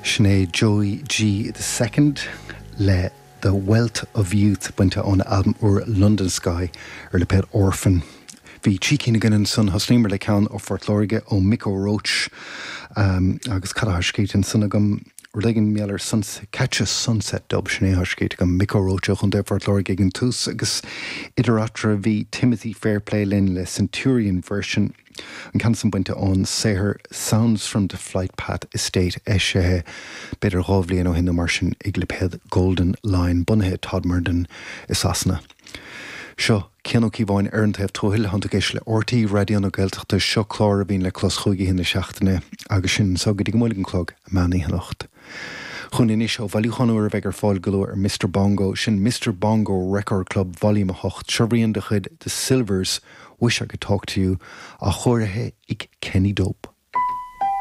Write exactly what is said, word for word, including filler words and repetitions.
Sin é Joey G the Second le The Wealth of Youth bainte ón albam úr London Sky ar lipéad Orphan. Bhí trí cinn againn ansan thosnaíomar le ceann ó Phort Láirge ó Micko Roach um, agus cad atá scríte ansan agam rud éigin mé ar Catch a Sunset Dub sin é atá scríte agam Micko Roach ó Chontae Phort Láirge ag an tús agus idir eatarthu bhí Timothy Fairplay linn le Centurion version. An ceann sin bainte ón saothar Sounds from the Flight Path Estate eisithe b'fhéidir dhá bhliain ó shin mar sin ag lipéad Golden Line bunaithe Todmorden i Sasana. Seo Cian Ó Cíobháin ar an taobh tuathail tá tú ag éisteacht le RTÉ Raidió na Gaeltachta seo clár a bhíonn le clos chúig na seachtaine agus sin so go dtí go mbuailfidh an clog meán oíche anocht. Chun inis ó bhailiúchán úr a bheidh ar fáil go luath ar Mr Bongo sin Mr Bongo Record Club Volume a hocht seo rian de chuid The Sylvers Wish I Could Talk to You á chóirithe ag Kenny Dope.